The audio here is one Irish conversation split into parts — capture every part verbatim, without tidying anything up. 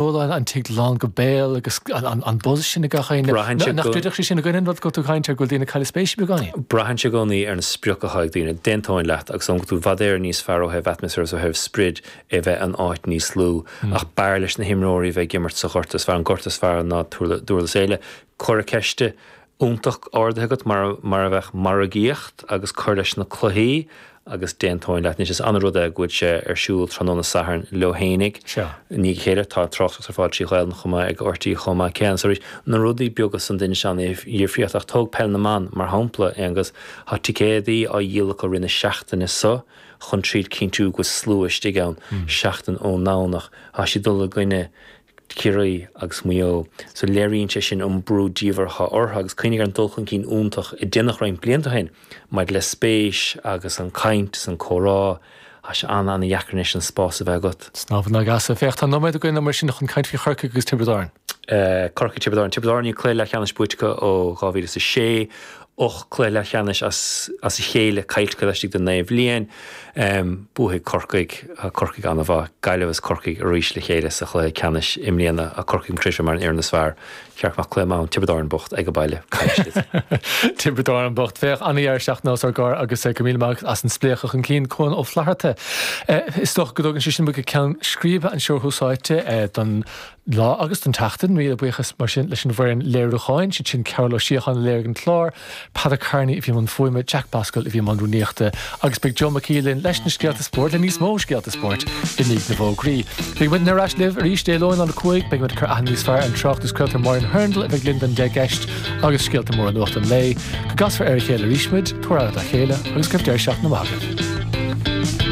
Bualann an tigh lán go béal agus an buzz sin ag gach éinne. Braitheann sé Nach go- dtuigeadh sé sin againn an rud go tú caint ar go bhfuil daoine ag cailleadh spéise beagáinín. Braitheann sé i gcónaí ar na sprioc atá ag daoine. D'aontóinn leat agus an tú i bhfad Éireann níos fearr ó thaobh atmaisféar is ó thaobh sprid é bheith an áit níos lú ach b'fhearr leis na himreoirí bheith ag imirt sa ghort is fearr an gort is fearr ná Durlas Éile. Cur ceiste iontach ardaithe agat mar mar a bheadh margaíocht agus cur leis na cluichí agus d'aontóinn leat anois is an-rud é go bhfuil sé ar siúl tráthnóna Sathairn leo fhéinig. Sea. Ní chéile tá tráchtas ar fáil trí Ghaeilge chomh maith ag RTÉ chomh maith céanna. So na rudaí beaga san duine sean dhifríocht ach tóg peil na mban mar shampla agus tá ticéadaí á dhíol acu roimh na seachtaine seo chun tríd cinntiú go slua istigh ann seachtain ón nDomhnach tá siad dul i gcoinne Ciarraí agus Maigh Eo. So léiríonn sé sin an brú diamhair orthu agus cuimhnigh ar an dul chun cinn iontach a déanadh roinnt blianta ó shin maidir le spéis agus an caint is an comhrá Tá sé an an-dheacair anois an spás a bheith agat. Snámh na gasa féach tá nóiméad againn mar sin chun caint faoi Chorcaigh agus Tiobraid Árann. Uh, Corcaigh Tiobraid Árann Tiobraid Árann cluiche leathcheannais buaite ó dhá mhíle is a sé ocht cluiche leathcheannais as as a chéile caillte laistigh de naoi bhliain. Um, buafaidh Corcaigh Corcaigh an-mhaith Gaillimh is Corcaigh arís le chéile sa chluiche ceannais i mbliana a Corcaigh crise mar an fhoireann is fearr ceart nach cluiche maith Tiobraid Árann bocht ag a baile Tiobraid Árann bocht féach an-deireadh seachtaine os ár gcomhair agus go míle maith as an spléachadh chun cinn Cuan Ó Flatharta. Is dócha go dtugann sé sin go ceann scríbe an seó thusáite don lá agus don tseachtain míle buíochas mar sin leis an bhfoireann léiriúcháin, siad sin Cearl Ó Síocháin léirigh an clár, Peadar Carney a bhí an fuaime Jack Bascal a bhí an rúnaíochta agus beidh Joe McKeelan leis na scéalta spóirt le níos mó scéalta spóirt i ndiaidh na bhfógraí. Beidh muid ar ais libh arís Dé Luain an cúig, beidh muid cur níos fearr an tráchtas craolta Máirín Hurndall a bheidh linn don deich gceist agus scéalta móra nuacht an lae, go gcasfar ar a chéile arís muid, tabhair aire dá chéile agus go deireadh seachtaine maith agaibh.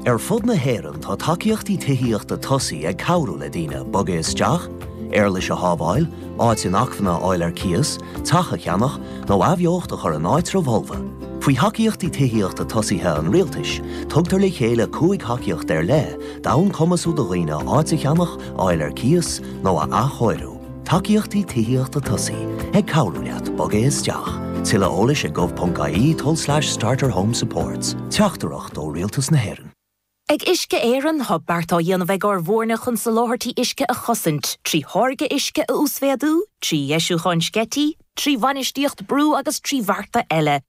Ar fud na hÉireann tá tacaíochtaí tithíochta tosaigh ag cabhrú le daoine bogadh isteach, éarlais a shábháil, áit inacmhainne a fháil ar cíos, teach a cheannach nó athbheocht a chur in áitreabh fholamh. Faoi thacaíochtaí tithíochta tosaithe an rialtais, tugtar le chéile cúig thacaíocht ar leith d'fhonn cumasú do dhaoine áit a cheannach, fháil ar cíos nó a athchóiriú. Tacaíochtaí tithíochta tosaigh ag cabhrú leat bogadh isteach. Tuilleadh eolais ag gov.ie tulslais starter home supports. Teachtaireacht ó Rialtas na hÉireann. Ag Uisce Éireann tá beart á dhéanamh ag ár bhfoirne chun soláthairtí uisce a chosaint, trí tháirgeadh uisce a uasmhéadú, trí dheisiúcháin sceití, trí bhainistíocht brú agus trí bhearta eile.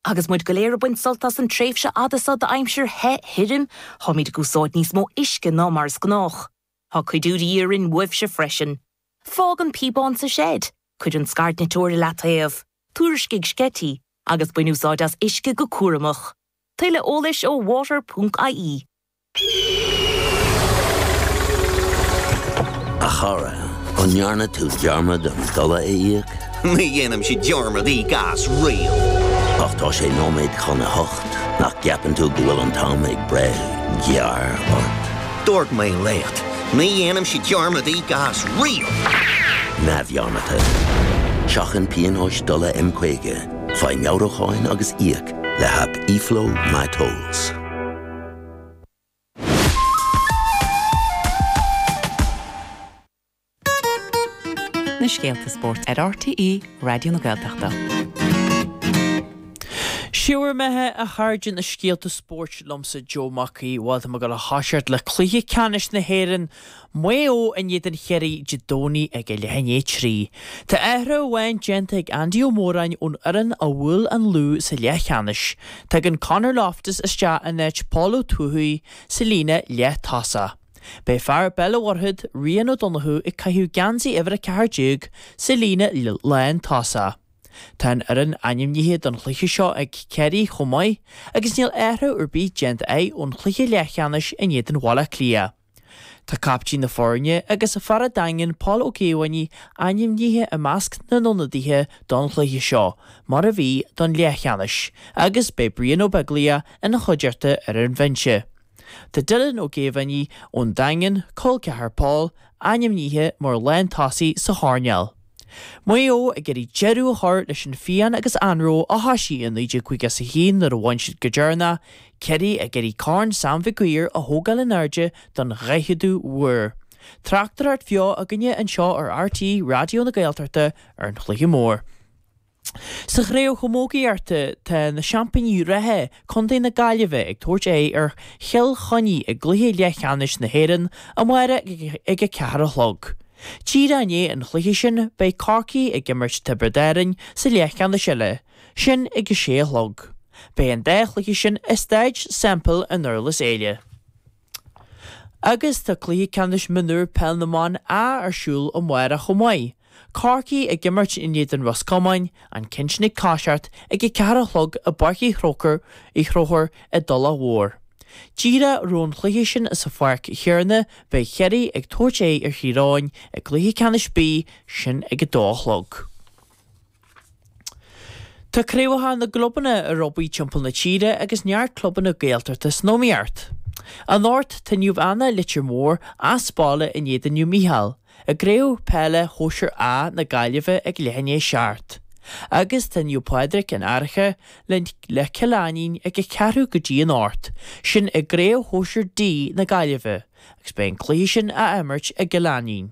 Agus muid go léir ag baint sult as an tréimhse fhada seo d'aimsir the thirim, táimid ag úsáid níos mó uisce ná mar is gnách. Tá cuidiú de dhíth orainn uaibhse freisin. Fág an píobán sa seid, cuir an scairdniteoir i leataobh, tuairiscigh sceití, agus bain úsáid as uisce go cúramach. Tuilleadh eolais ó water.ie. A chara, an ndearna tú dearmad an dola a íoc? Ní dhéanaimse dearmad íoc as riamh. Ach tá sé nóiméad chun a hocht nach gceapann tú go bhfuil an t-am ag breith gearr ort. Dúirt mé leat, ní dhéanaimse dearmad íoc as riamh. Neamhdhearmadta. Seachain pionóis dola M caoga, faigh meabhrúcháin agus íoc le haip eFlow MyTolls. Na scéalta spóirt ar RTÉ Raidió na Gaeltachta. Siúr methe a chairde na scéalta spóirt liomsa Joe Mac Aoidh bhfuil go le háiseart le cluiche ceannais na hÉireann Maigh Eo in éadan Chiarraí Dé Domhnaigh ag a leath i ndiaidh a trí. Tá athrú amháin déanta ag Andy Ó Móráin ón fhoireann a bhuail an Lú sa leathcheannais. Tagann Conor Loftus isteach in áit Paul Ó Tuathaigh sa líne leath-tosach. Beidh fear Béal an Mhuirthead Rian Ó Donnchú ag caitheamh geansaí uimhir a ceathair déag sa líne lán-tosach. Tá an fhoireann ainmnithe don chluiche seo ag Ciarraí chomh maith agus níl athrú ar bith déanta acu ón chluiche leathcheannais in éadan Bhaile Átha Cliath. Tá captaen na foirne agus fear an Daingin Paul Ó Caomhánaigh ainmnithe i measc na n-ionadaithe don chluiche seo, mar a bhí don leathcheannais, agus beidh Brian Ó Beaglaoich ina chuideachta ar an bhinse. Tá Dylan Ó Géibheannaigh ón Daingean, col ceathar Paul, ainmnithe mar lántosaí sa choirnéal. Maigh Eo ag iarraidh deireadh a chur leis an phian agus anró a thosaigh i naoi déag caoga is a haon nuair a bhain siad go deireanach, Ciarraí ag iarraidh Corn Sam Mhig Uidhir a thógáil in airde don dhaicheadú huair. Tráchtaireacht bheo againne anseo ar RTÉ Raidió na Gaeltachta ar an chluiche mór. Sa chraobh chamógaíochta, tá na seaimpíní reatha, Contae na Gaillimhe, ag tabhairt aghaidh ar Chill Chainnigh i gcluiche leathcheannais na hÉireann amárach ag a ceathair a chlog. Díreach i ndiaidh an chluiche sin, beidh Corcaigh ag imirt Tiobraid Árann sa leathcheannais eile, sin ag a sé a chlog. Beidh an dá chluiche sin i Staid Semple i nDurlas Éile. Agus tá cluiche ceannais mionúr Peil na mBan A ar siúl amárach chomh maith. Corcaigh ag imirt in éadan Ros Comáin, an ceann sin ag toiseacht ag a ceathair a chlog i bPáirc Uí Chrócaigh Uí Chonchúir i dTulach Mhór. Díreach roimh an chluiche sin sa pháirc chéanna beidh Ciarraí ag tabhairt aghaidh ar Thír Eoghain i gcluiche ceannais B, sin ag a dó a chlog. Tá craobhacha na gclubanna ar obair timpeall na tíre agus neart clubanna Gaeltachta san iomaíocht. Anocht tá Naomh Anna Leitir Móir as baile in éadan Naomh Mícheál i gCraobh Peile Shóisir A na Gaillimhe ag leath i ndiaidh a seacht. Agus tá Naomh Pádraig an Fhairche le le Cill Ainnín ag a ceathrú go dtí an ocht, sin i gCraobh Shóisir D na Gaillimhe agus beidh an cluiche sin á imirt i gCill Ainnín.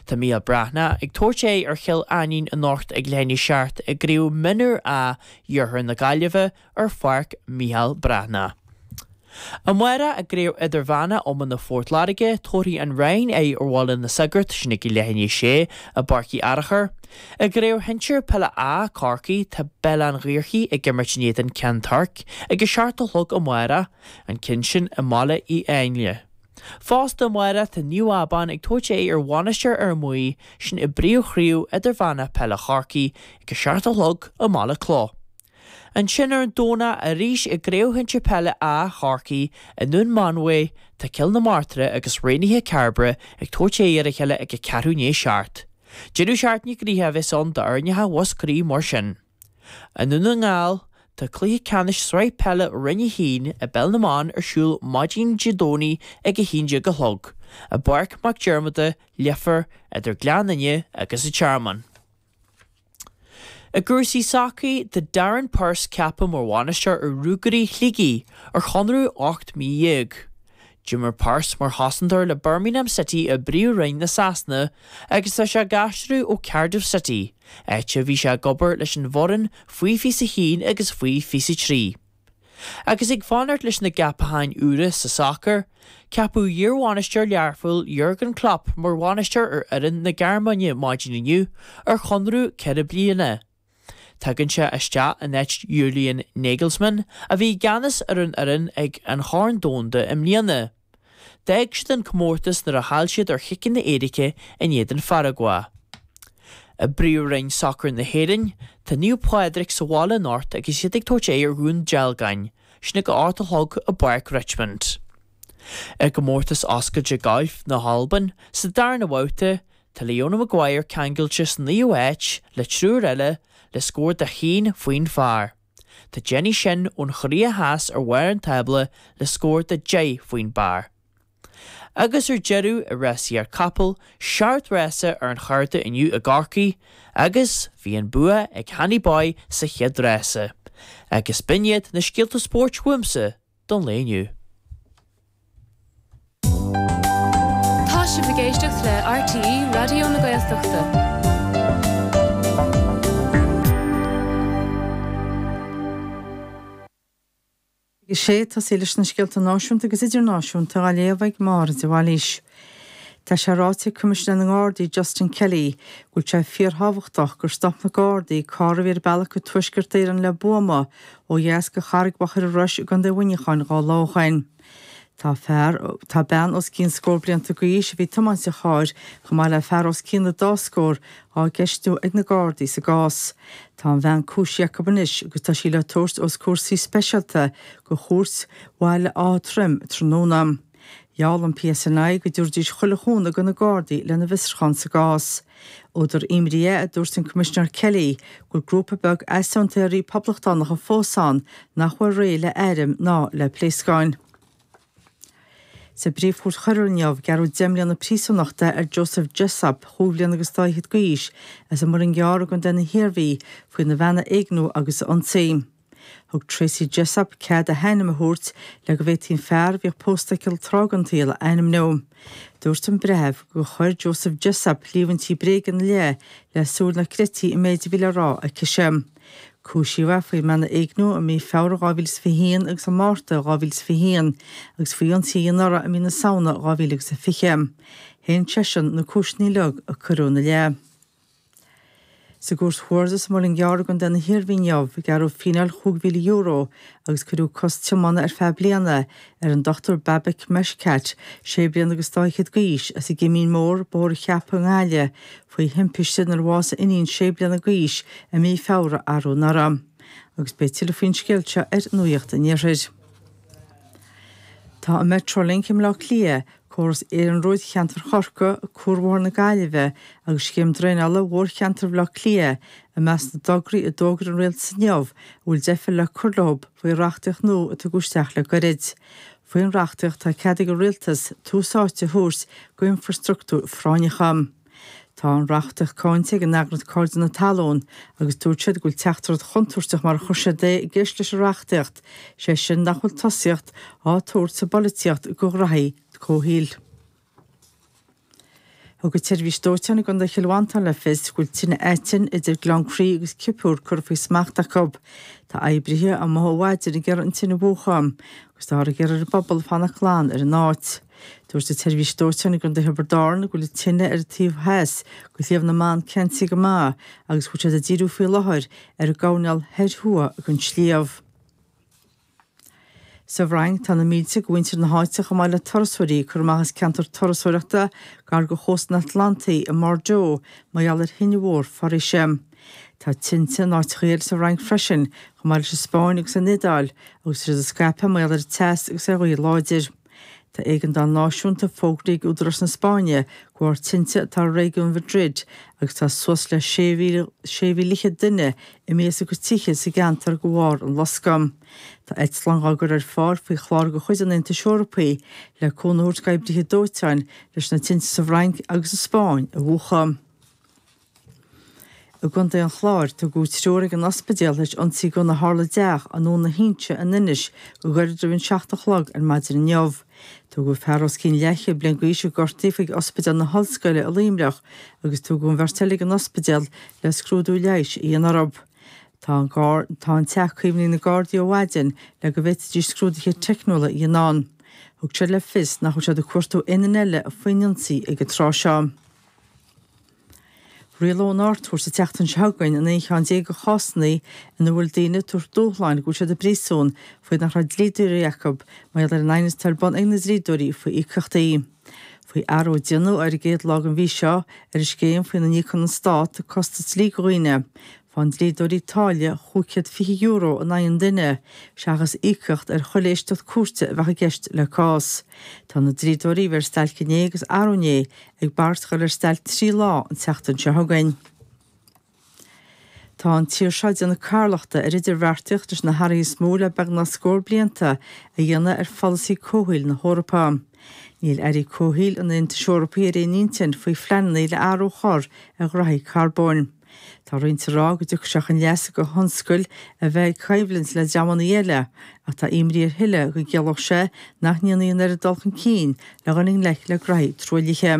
Tá Mícheál Breathnach ag tabhairt aghaidh ar Chill Ainnín anocht ag leath i ndiaidh a seacht i gCraobh Mionúr A Iarthar na Gaillimhe ar Pháirc Mhícheál Breathnach. Amárach i gCraobh Idirmheánach Iomána Phort Láirge, tabharfaidh an Rinn aghaidh ar Bhaile na Sagart, sin ag leath i ndiaidh a sé, i bPáirc Uí Fhearchair. I gCraobh Shinsir Peile A Chorcaí, tá Béal Átha an Ghaorthaidh ag imirt in éadan Ceann Toirc ag a seacht a chlog amárach, an ceann sin i mBaile Uí Áinle. Fosta amárach tá Naomh Abán ag tabhairt aghaidh ar Mhainistir Fhear Maí, sin i bPríomhchraobh Idirmheánach Peile Chorcaí ag a seacht a chlog i mBaile Clough. Ansin ar an Domhnach arís i gCraobh Shinsir Peile A Chorcaí i nDún Mánmhaí tá Cill na Martra agus Raonaithe Cairbre ag tabhairt aghaidh ar a chéile ag a ceathrú i ndiaidh a seacht. Deireadh seachtaine gnoitheach a bheas ann d'fhoirneacha Mhúscraí mar sin. I nDún na nGall, tá cluiche ceannais Sraith Peile Roinn a hAon i bPeil na mBan ar siúl maidin Dé Domhnaigh ag a haon déag a chlog, i bPáirc Mac Diarmada, Leifear, idir Gleann Fhinne agus an Tearmann. I gcúrsaí sacair, tá Darren Purse ceaptha mar bhainisteoir ar Ruagairí Shligigh ar chonradh ocht mí dhéag. D'imir Purse mar chosantóir le Birmingham City i bPríomh-Roinn na Sasana agus tá sé ag aistriú ó Cardiff City, áit a bhí sé ag obair leis an bhfoireann faoi fiche a haon agus faoi fiche a trí. Agus ag fanacht leis na gceapacháin úra sa sacar, ceapadh iarbhainisteoir Learphoill Jurgen Klopp mar bhainisteoir ar fhoireann na Gearmáine maidin inniu ar chonradh ceithre bliana. Tagann sé isteach in áit Julian Nagelsmann a bhí i gceannas ar an fhoireann ag an Chorn Domhanda i mbliana. D'fhág siad an comórtas nuair a chaill siad ar chiceanna éirice in éadan Pharagua. I bPríomhroinn Sacair na hÉireann, tá Naomh Pádraig sa bhaile anocht agus iad ag tabhairt aghaidh ar Dhún Dealgáin, sin ag a hocht a chlog i bPáirc Richmond. I gcomórtas oscailte gailf na hAlban, sa darna babhta, tá Leona Maguire ceangailte sa naoú háit le triúr eile le scór de haon faoin phar. Tá Jenny Shin ón Chóiré Theas ar bharr an tábla le scór de deich faoin bpar. Agus ar deireadh, i rásaíocht capall, seacht rása ar an chárta inniu i gCorcaigh agus bhí an bua ag Hanny Boy sa chéad rása. Agus b'in iad na scéalta spóirt uaimse don lae inniu. Tá sibh ag éisteacht le RTÉ Raidió na Gaeltachta. A sé, tosaí leis na scéalta náisiúnta agus idirnáisiúnta á léamh ag Máire de Bhailís. Tá sé ráite ag Coimisinéir na nGardaí Justin Kelly go bhfuil sé fíorthábhachtach gur stop na Gardaí carr a bhí ar a bealach go Tuaisceart Éireann le buama ó dheas de Charraig Mhachaire Rois i gContae Mhuineacháin dhá lá ó shoin. Tá fear, tá bean os cionn scór blianta d'aois a bhí ag tiomáint an chairr, chomh maith le fear os cionn an dá scór, á gceistiú ag na Gardaí sa gcás. Tá an bhean cúisithe acu anois agus tá sí le tabhairt os comhair suí speisialta de Chúirt Bhaile Átha Troim tráthnóna. Gheall an PSNI go dtabharfaidís chuile chúnamh do na Gardaí lena bhfiosrúchán sa gcás. Údar imní é, a dúirt an Coimisinéir Kelly, go bhfuil grúpa beag easaontóirí poblachtánacha fós ann nach bhfuil réidh le airm ná le pléascáin. Sa bPríomh-Chúirt Choiriúil inniu, gearradh deich mbliana príosúnachta ar Joseph Jessop, chúig bhliana agus dá fhichead d'aois, as an Muileann gCearr i gContae na hIarmhí, faoina bhean a éigniú agus a ionsaí. Thug Tracey Jessop cead a hainm a thabhairt le go bhféadfaí an fear a bhíodh pósta aici tráth den tsaol a ainmniú. Dúirt an breitheamh gur chuir Joseph Jessop líomhaintí bréige ina leith le súil nach gcreidfí an méid a bhí le rá aicise. Cúisíodh é faoi mbean a éigniú i mí Feabhra dhá mhíle is fiche haon agus i Márta dhá mhíle is fiche haon agus faoi ionsaí a dhéanamh uirthi i mí na Samhna dhá mhíle agus a fiche. Shéan seisean na cúiseanna uilig a cuireadh ina leith. Sa gCúirt Chuarda sa Muileann gCearr i gContae na hIarmhí inniu, gearradh fíneáil chúig mhíle euro agus cuireadh cosc tiomána ar feadh bliana ar an Dochtúir Babak Meshkat, sé bliana agus dá fhichead d'aois, as an gCimín Mór, Bóthar an Cheapaigh i nGaillimh, faoi thimpiste inar bhásaigh a iníon sé bliana d'aois i mí Feabhra arú anuraidh. Agus beidh tuilleadh faoin scéal seo ar Nuacht an Iarthair. Tá an Metrolink i mBleá Cliath, córas iarnróid cheantar Chorcaí, Cuarbhóthar na Gaillimhe agus scéim draenála mhórcheantar Bhaile Átha Cliath i measc na dtograí a d'fhógair an Rialtas inniu a bhfuil deifir le cur leo faoi reachtaíocht nua a tugadh isteach le gairid. Faoin reachtaíocht tá cead ag an Rialtas tús áite a thabhairt d'infrastruchtúir phráinneacha. Tá an reachtaíocht cáinte ag an eagraíocht Cairde na Talún agus dúirt siad go bhfuil teachtaireacht chontúirteach mar a chuir siad é i gceist leis an reachtaíocht, sé sin nach bhfuil tosaíocht á tabhairt sa bpolaitíocht do ghraithí comhshaoil. Thug an tSeirbhís Dóiteáin i gContae Chill Mhantáin le fios go bhfuil tine aitinn idir Gleann Crí agus Cipiúr curtha faoi smacht acu. Tá oibrithe amuigh ó mhaidin ag iarraidh an tine a mhúchadh agus táthar ag iarraidh ar an bpobal fanacht glan ar an áit. Dúirt an tSeirbhís Dóiteáin i gContae Thiobraid Árann go bhfuil an tine ar an taobh theas de Shliabh na mBan ceansaithe go maith agus go bhfuil siad ag díriú faoi láthair ar an gcoirnéal thoir thuaidh den sliabh. Sa bhFrainc, tá na mílte de mhuintir na háite chomh maith le turasóirí ag cur amach as ceantar turasóireachta gar do chósta an Atlantaigh i mBordeaux mar gheall ar thine mhór foraoise. Tá tinte in áiteacha eile sa Fhrainc freisin, chomh maith leis an Spáinn agus an Iodáil, agus tá siad ag scaipeadh mar gheall ar an teas agus ar ghaoth láidir. Tá éigeandáil náisiúnta fógraithe ag údaráis na Spáinne de bharr tinte atá i réigiún Mhadrid agus tá suas le sé mhíle fhichead duine imithe as a gcuid tithe sa gceantar de bharr an loscadh. Tá eitleáin á gcur ar fáil faoi chlár de chuid an Aontais Eorpaigh le cúnamh a thabhairt d'oibrithe dóiteáin leis na tinte sa bhFrainc agus sa Spáinn a mhúchadh. I gContae an Chláir, tugadh triúr ag an ospidéal tar éis ionsaí gunna a tharla i dteach i nDún na hInse in Inis go gairid roimh an seacht a chlog ar maidin inniu. Tugadh fear os cionn leathchéad bliain d'aois a gortaíodh chuig Ospidéal na hOllscoile i Luimneach agus tugadh an bheirt eile ag an ospidéal le scrúdú leighis a dhéanamh orthu. Tá an tá an teach caomhnaithe ag na Gardaí ó mhaidin le go bhféadfaidís scrúduithe teicniúla a dhéanamh ann. Thug siad le fios nach bhfuil siad ag cuartú aon duine eile faoin ionsaí ag an tráth seo. Rialóidh an Ard-Chúirt an tseachtain seo chugainn an aon cheann déag de chásanna ina bhfuil daoine ag tabhairt dúshláin go bhfuil siad i bpríosún faoi nach raibh dlíodóirí acu mar gheall ar an aighneas atá ar bun ag na dlíodóirí faoi íocaíochtaí. Faoi athrú a déanadh ar an gcéad lá den mhí seo ar an scéim faoina n-íocann an Stát costas dlí do dhaoine, faigheann dlíodóirí táille chúig chéad fiche euro in aghaidh an duine, seachas íocaíocht ar chuile éisteacht cúirte a bheadh i gceist le cás. Tá na dlíodóirí a bhí ar stailc inné agus arú inné ag bagairt dhul ar stailc trí lá an tseachtain seo chugainn. Tá an tír seo ag déanamh carlachta ar idirbheartaíocht leis na hathruithe is mó le beagnach scór blianta a dhéanamh ar pholasaí comhshaoil na hEorpa. Níl airí comhshaoil an Aontais Eorpaigh ar aon intinn faoi phleananna le athrú a chur ar ghraithí carbóin. Tá roinnt ag rá go dtiocfaidh sé chun leasa do thionscail a bheith ag coimhlint le dreamanna eile, ach tá imní ar thuilleadh go gciallódh sé nach ndéanfaí an oiread dul chun cinn le dhul i ngleic le graithí truaillithe.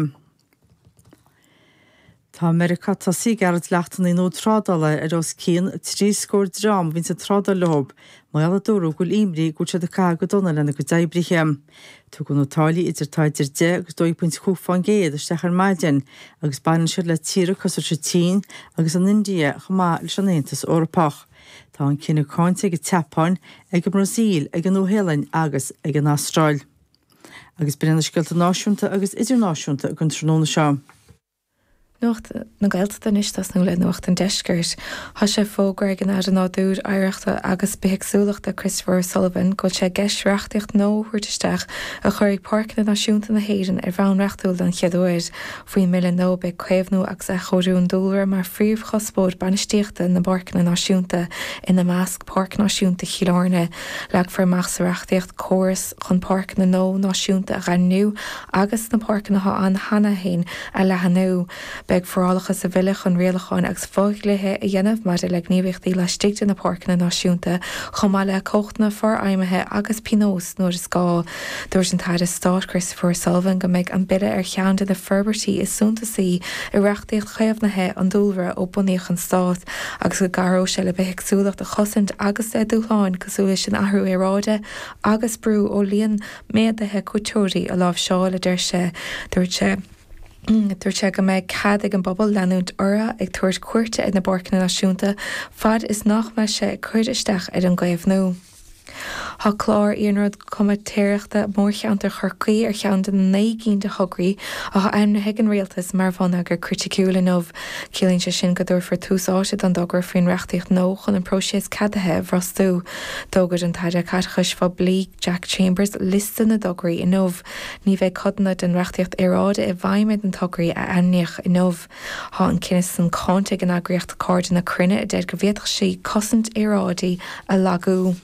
Tá Meiriceá tosaithe ag gearradh dleachtanna nua trádála ar os cionn trí scór dream a bhíonns ag trádáil leo, mar gheall a dúradh go bhfuil imní go bhfuil siad ag caitheamh go dona lena gcuid oibrithe. Tugadh na táillí idir atá idir deich agus dó dhéag pointe cúig fán gcéad isteach ar maidin agus baineann siad le tíortha cosúil leis an tSín agus an India chomh maith leis an Aontas Eorpach. Tá an cinneadh cáinte ag an tSeapáin, ag an mBrasaíl, ag an Nua-Shéalainn agus ag an Astráil. Agus b'in iad na scéalta náisiúnta agus idirnáisiúnta don tráthnóna seo. Nuacht na Gaeltachta anois tosnú le Nuacht an Deiscirt. Tá sé fógartha ag an Aire Nádúir, Oidhreachta agus Bithéagsúlachta Christopher O'Sullivan go bhfuil sé i gceist reachtaíocht nua a thabhairt isteach a chuirfidh Páirceanna Náisiúnta na hÉireann ar bhonn reachtúil den chéad uair. Faoin mbille nua beidh caomhnú agus athchóiriú an dúlra mar phríomhchuspóir bainistíochta na bpáirceanna náisiúnta, ina measc Páirc Náisiúnta Chill Airne. Leagfar amach sa reachtaíocht córas chun páirceanna nua náisiúnta a dhaingniú agus na páirceanna atá ann cheana féin a leathnú. Beidh forálacha sa bhille chun rialacháin agus fodhlíthe a dhéanamh maidir le gníomhaíochtaí laistigh de na páirceanna náisiúnta, chomh maith le cumhachtanna forfheidhmithe agus pionóis nuair is gá. Dúirt an tAire Stáit Christopher O'Sullivan go mbeidh an bille ar cheann de na forbairtí is suntasaí i reachtaíocht chaomhnaithe an dúlra ó bunaíodh an stát agus go gcabhróidh sé le bithéagsúlacht a chosaint agus le dúshláin cosúil leis an athrú aeráide agus brú ó líon méadaithe cuairteoirí a láimhseáil, a deir sé. Dúirt sé. Dúirt sé go mbeidh cead ag an bpobal leanúint orthu ag tabhairt cuairte ar na bpáirceanna náisiúnta fad is nach mbeidh sé ag cur isteach ar an gcaomhnú. Tá clár iarnróid comaitéireachta Mhórcheantar Chorcaí ar cheann de na naoi gcinn de thograí atá ainmnithe ag an Rialtas mar bhonneagar criticiúil inniu. Ciallaíonn sé sin go dtabharfar tús áite don dtogra faoin reachtaíocht nua chun an próiseas ceadaithe a bhrostú. D'fhógair an tAire Caiteachais Phoiblí Jack Chambers liosta na dtograí inniu. Ní bheidh codanna den reachtaíocht aeráide i bhfeidhm ar na tograí a ainmníodh inniu. Tá an cinneadh san cáinte ag an eagraíocht Cairde na Cruinne a deir go bhféadfadh sí cosaint aeráide a lagú.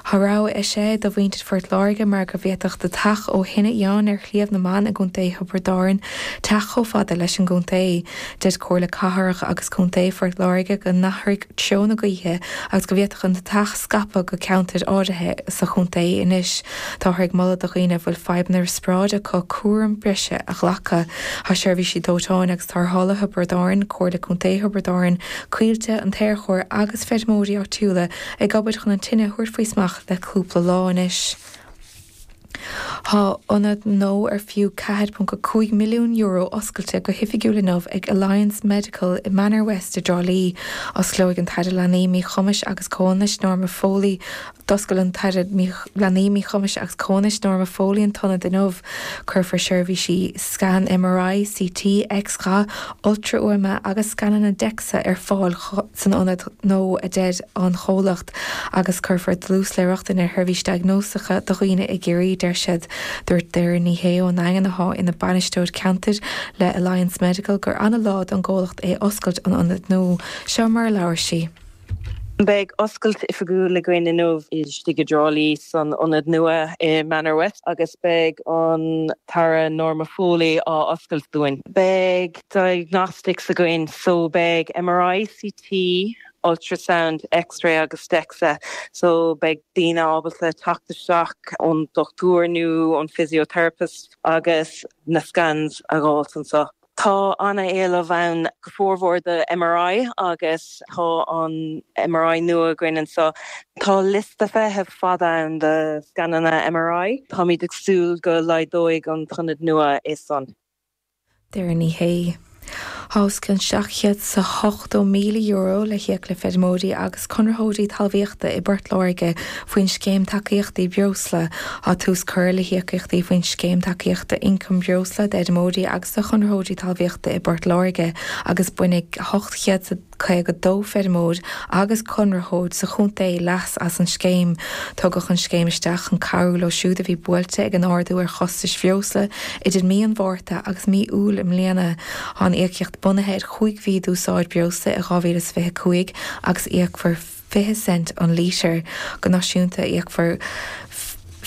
Tá rabhadh eisithe do mhuintir Phort Láirge mar go bhféadfadh deatach ó thine fhiáin ar Shliabh na mBan i gContae Thiobraid Árann teacht chomh fada leis an gcontae. Deir Comhairle Cathrach agus Contae Phort Láirge go n-athraigh treo na gaoithe agus go bhféadfadh an deatach scaipeadh go ceantair áirithe sa chontae anois. Táthar ag moladh do dhaoine a bhfuil fadhbanna riospráide acu cúram breise a ghlacadh. Tá seirbhísí dóiteáin agus tarrthála Thiobraid Árann, Comhairle Contae Thiobraid Árann, Coillte, an tAerchór agus feirmeoirí áitiúla ag obair chun an tine a thabhairt faoi smacht le cúpla lá anois. Tá ionad nua ar fiú ceathair ponc a cúig milliún euro oscailte go hoifigiúil inniu ag Alliance Medical i Manor West i dTrá Lí. Osclóidh an tAire Leanaí, Míchumais agus Comhionannais Norma Foley D'oscail an tAire Leanaí, Míchumais agus Comhionannais Norma Foley an t-ionad inniu. Cuirfear seirbhísí scan MRI, CT, X-gha, ultrafhuaime agus scananna DEXA ar fáil san ionad nua, a deir an comhlacht, agus cuirfear dlús le rochtain ar sheirbhísí diagnóiseacha do dhaoine i gCiarraí, deir siad. Dúirt Doireann Ní Shé ón nDaingean, atá ina bainisteoir ceantair le Alliance Medical, gur an-lá don gcomhlacht é oscailt an ionaid nua. Seo mar a labhair sí. Beidh oscailt oifigiúil againn inniu istigh i dTrá Lí san ionad nua i Manor West agus beidh an tAire Norma Foley á oscailt dúinn. Beidh diagnostics againn so beidh MRI, CT, ultrasound, X-ray agus DEXA so beidh daoine ábalta teacht isteach ón dochtúir nó ón physiotherapist agus na scans a dh'fháilt anseo. Tá an-éileamh ann go formhór do MRI agus tá an MRI nua againn anseo. Tá liosta feithimh fada ann do scananna MRI. Táimid ag súil go laghdóidh an t-ionad nua é san. Doireann Ní Shé. Tá os cionn seacht chéad 's a hochtó míle euro le híoc le feirmeoirí agus conraitheoirí talmhaíochta i bPort Láirge faoin Scéim Tacaíochtaí Breosla. Tá tús curtha le híocaíochtaí faoin Scéim Tacaíochta Ioncaim Breosla d'fheirmeoirí agus do chonraitheoirí talmhaíochta i bPort Láirge agus bainfidh ocht chéad 's a caoga dó feirmeoir agus conraitheoir sa chontae leas as an scéim. Tugadh an scéim isteach chun cabhrú leo siúd a bhí buailte ag an ardú ar chostais bhreosla idir mí an Mhárta agus mí Iúil i mbliana. Tá an íocaíocht bunaithe ar chúig mhí d'úsáid breosla i dhá mhíle is fiche a cúig agus íocfar fiche cent an lítear. Go náisiúnta íocfar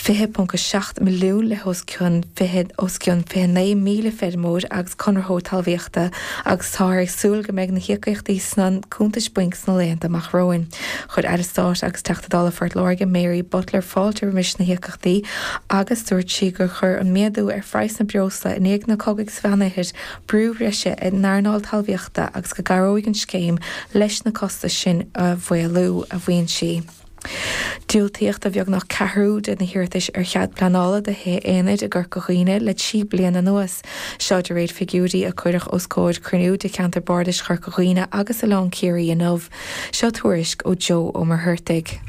fiche ponc a seacht milliún le hos cionn fiche os cionn fiche naoi míle feirmeoir agus conraitheoir talmhaíochta agus táthar ag súil go mbeidh na híocaíochtaí sna cuntais bainc sna laethanta amach romhainn. Chuir Aire Stáit agus Teachta Dála Phort Láirge Mary Butler fáilte roimis na híocaíochtaí agus dúirt sí gur chuir an méadú ar phraghsanna breosla i ndiaidh na cogaidh sa Mheánoirthear brú breise ar an earnáil talmhaíochta agus go gcabhróidh an scéim leis na costais sin a mhaolú, a mhaíonn sí. Diúltaíodh do bheagnach ceathrú de na hiarratais ar chead pleanála do thithe aonair i gCorca Dhuibhne le trí bliana anuas. Seo de réir figiúirí a cuireadh os comhair cruinniú de Cheantar Bardais Chorca Dhuibhne agus Oileán Ciarraí inniu. Seo tuairisc ó Joe Ó Muircheartaigh.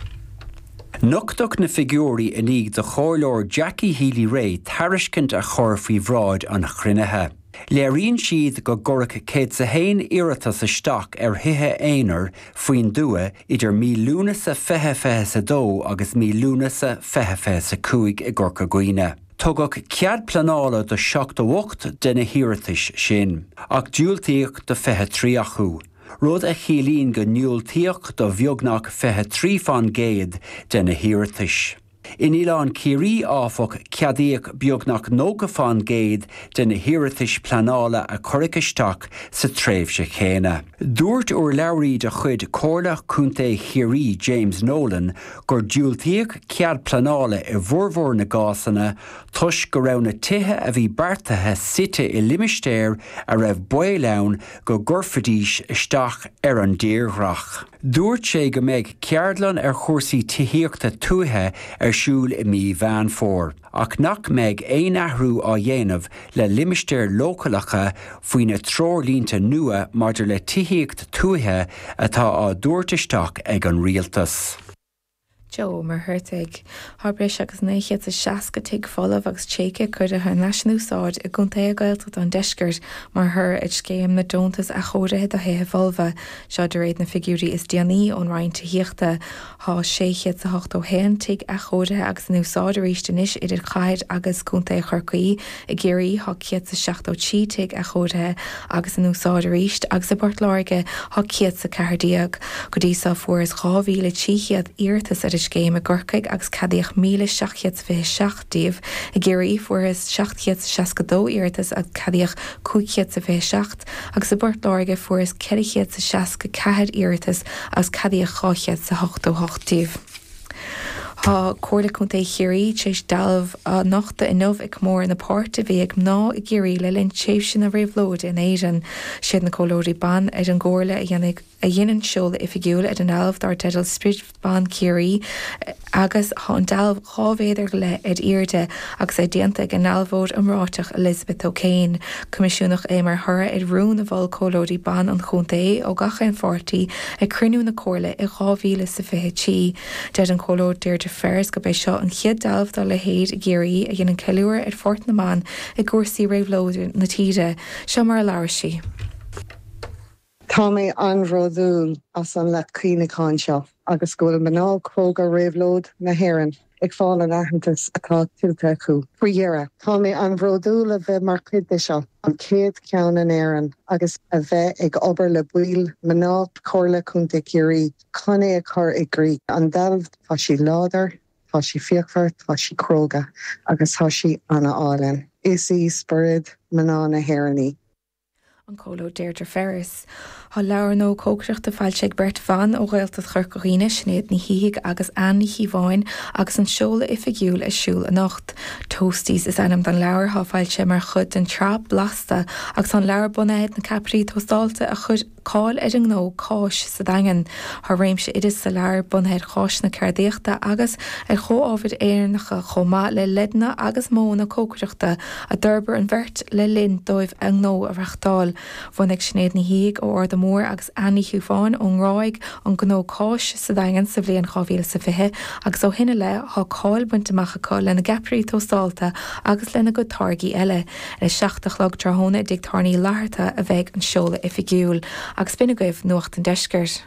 Nochtadh na figiúirí i ndiaidh do Chomhairleoir Jackie Healy-Rae tairiscint a chur faoi bhráid an chruinnithe. Léiríonn siad go gcuireadh céad 's a haon iarratas isteach ar thithe aonair faoin dtuath idir mí Lúnasa fiche fiche 's a dó agus mí Lúnasa fiche fiche 's a cúig i gCorca Dhuibhne. Tugadh cead pleanála do seachtó ocht de na hiarratais sin, ach diúltaíodh do fiche trí acu, rud a chiallaíonn go ndiúltaíodh do bheagnach fiche trí faoin gcéad de na hiarratais. In Oileán Ciarraí áfach ceadaíodh beagnach nócha faoin gcéad de na hiarratais pleanála a cuireadh isteach sa tréimhse chéanna. Dúirt urlabhraí de chuid Comhairle Contae Chiarraí James Nolan gur diúltaíodh cead pleanála i bhformhór na gcásanna toisc go raibh na tithe a bhí beartaithe suite i limistéir a raibh baol ann go gcuirfidís isteach ar an dtírdhreach. Dúirt sé go mbeidh ceardlann ar chúrsaí tithíochta tuaithe ar siúl i mí Mheán Fómhair, ach nach mbeidh aon athrú á dhéanamh le limistéir leochaileacha faoi na treoirlínte nua maidir le tithíocht tuaithe atá á dtabhairt isteach ag an rialtas. Joe Ó Muircheartaigh. Tá breis agus naoi chéad is seasca tigh folamh agus tréigthe curtha thar n-ais in úsáid i gcontaetha Gaeltachta an deiscirt mar thoradh ar scéim na deontas athchóirithe do thithe folmha. Seo de réir na figiúirí is déanaí ón Roinn Tithíochta. Tá sé chéad is a hochtó haon tigh athchóirithe agus in úsáid arís anois idir chathair agus contae Chorcaí. I gCiarraí tá céad is seachtó trí tigh athchóirithe agus in úsáid arís agus i bPort Láirge tá céad is a ceathair déag. Go dtí seo fuarthas dhá mhíle trí chéad iarratas ar an scéim i gCorcaigh agus ceadaíodh míle seacht gcéad is fiche seacht díobh. I gCiarraí fuarthas seacht gcéad is seasca dó iarratas agus ceadaíodh cúig chéad is fiche seacht agus i bPort Láirge fuarthas ceithre chéad is seasca ceathair iarratas agus ceadaíodh dhá chéad is a hochtó hocht díobh. Tá Comhairle Contae Chiarraí tar éis dealbh a nochtadh inniu ag comóradh na páirte a bhí ag mná i gCiarraí le linn tréimhse na réabhlóide in Éirinn. Siad na comhairleoirí ban ar an gcomhairle a dhéanfaidh a dhein an seoladh oifigiúil ar an ndealbh dar teideal Sprid Ban Chiarraí agus tá an dealbh dhá mhéadar go leith ar airde agus é déanta ag an ndealbhóir iomráiteach Elizabeth O'Kane. Coimisiúnach é mar thoradh ar rún a mhol comhairleoirí ban an chontae ó gach aon pháirtí ag cruinniú na comhairle i dhá mhíle is a fiche trí. Deir an Comhairleoir Deirdre Ferris gurb é seo an chéad dealbh dá leithéid i gCiarraí a dhéanann ceiliúradh ar pháirt na mban i gcúrsaí réabhlóide na tíre. Seo mar a labhair sí. Tá mé an-bhródúil as an leacht cuimhneacháin seo agus go bhfuil mná cróga réabhlóid na hÉireann ag fáil an aitheantas atá tuillte acu. Faoi dheireadh, tá mé an-bhródúil a bheith mar chuid de seo, an chéad cheann in Éirinn, agus a bheith ag obair le baill mná Chomhairle Contae Chiarraí chun é a chur i gcrích. An dealbh, tá sí láidir, tá sí fíochmhar, tá sí cróga agus tá sí an-álainn. Is í spiorad mná na hÉireann í. An Comhairleoir Deirdre Ferris. Tá leabhar nua cócaireachta foilsithe ag beirt bhan ó Ghaeltacht Chorca Dhuibhne, Sinéad Ní Shíthigh agus Anne Ní Chíobháin agus an seoladh oifigiúil ar siúl anocht. Toasties is ainm don leabhar, atá foilsithe mar chuid den tsraith Blasta agus tá an leabhar bunaithe ar na ceapairí tóstáilte a chuir cáil ar an ngnó Cáis sa Daingean. Tá réimse oideas sa leabhar bunaithe ar cháiseanna ceardaíochta agus ar chomhábhair Éireannacha chomh maith le leideanna agus modhanna cócaireachta a d'fhorbair an bheirt le linn dóibh a ngnó a reáchtáil. Bhunaigh Sinéad Ní Shíthigh ó Ard an Mhóir agus Anne Ní Chíobháin ón nGráig an gnó Cáis sa Daingean sa bhliain dhá mhíle is a fiche agus ó shin i leith tá cáil bainte amach acu lena gceapairí tóstáilte agus lena gcuid táirgí eile. Ar a seacht a chlog tráthnóna i dTigh Tábhairne Uí Fhlatharta a bheidh an seoladh oifigiúil. Agus b'in agaibh Nuacht an Deiscirt.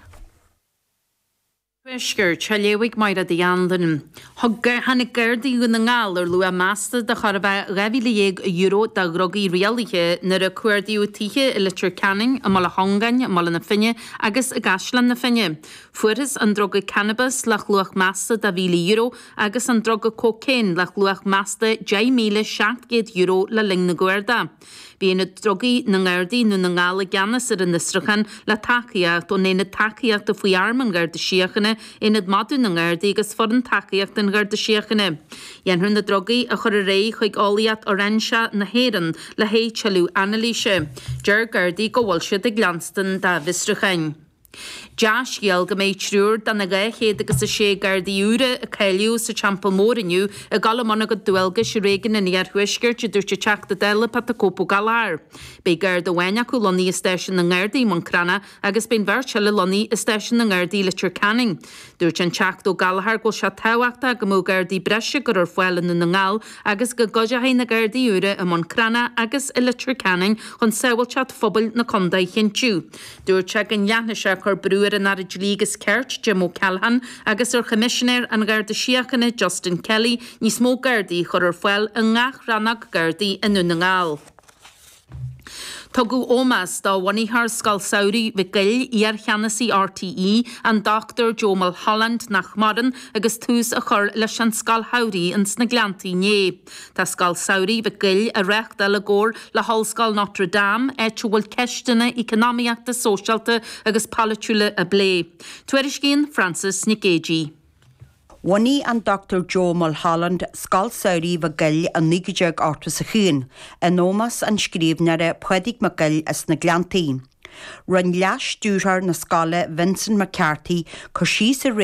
Tuaiscirt, á léamh ag Máire Uí Anluain. Tháinig Gardaí Dhún na nGall ar luach measta de chóir a bheith dhá mhíle dhéag euro de dhrugaí rialaithe nuair a cuardaíodh tithe i Leitir Ceanainn, i mBaile Chongáin, i mBaile na Finne agus i gCaisleán na Finne. Fuarthas an druga cannabas le luach measta de mhíle euro agus an druga cócaon le luach measta deich míle seacht gcéad euro le linn na gcuardach. Bhí Aonad Drugaí na nGardaí i nDún na nGall i gceannas ar an fhiosrúchán le tacaíocht ón Aonad Tacaíochta faoi Airm an Gharda Síochána, Aonad Madadh na nGardaí agus Foireann Tacaíochta an Gharda Síochána. Dhéanfar na drugaí a chur ar aghaidh chuig Eolaíocht Fhoireinseach na hÉireann le haghaidh tuilleadh anailíse. Deir Gardaí go bhfuil siad ag leanstan dá bhfiosrúcháin. Dea-scéal go mbeidh triúr de na dhá chéad agus a sé Gardaí úra a cáilíodh sa Teampall Mór inniu ag dul i mbun a gcuid dualgais i réigiún an Iarthuaiscirt, a dúirt an Teachta Dála Pat the Cope Ó Gallchóir. Beidh Garda amháin acu lonnaithe i Stáisiún na nGardaí, Maigh Chromtha, agus beidh an bheirt eile lonnaithe i Stáisiún na nGardaí, Leitir Ceanainn. Dúirt an Teachta Ó Gallchóir go bhfuil sé tábhachtach go mbeadh Gardaí breise á gcur ar fáil i nDún na nGall agus go gcuideoidh na Gardaí úra i Maigh Chromtha agus i Leitir Ceanainn chun sábháilteacht phobail na contae a chinntiú. Dúirt sé go ndéanfaidh sé cur brú ar an Aire Dlí agus Cirt, Jim O'Callaghan, agus ar Choimisinéir an Gharda Síochána, Justin Kelly, níos mó Gardaí a chur ar fáil i ngach rannóg Gardaí i nDún na nGall. Tugadh ómós do bhunaitheoir Scoil Samhraidh Mhic Goill, iarcheannasaí RTÉ, an Dr Joe Mulholland nach maireann agus tús á chur leis an Scoil Shamhraidh ins na Gleanntaí inné. Tá Scoil Samhraidh Mhic Goill á reáchtáil i gcomhar le hOllscoil Notre Dame, áit a bhfuil ceisteanna eacnamaíochta, sóisialta agus polaitiúla á bplé. Tuairiscíonn Frances Nic Géadaigh. Bhunaigh an Dr Joe Mulholland Scoil Samhraidh Mhic Goill i naoi déag ochtó is a haon, in ómós an scríbhneora Pádraig Mac Goill as na Gleanntaí. Rinne leas-stiúrthóir na scoile Vincent McCarthy cur síos ar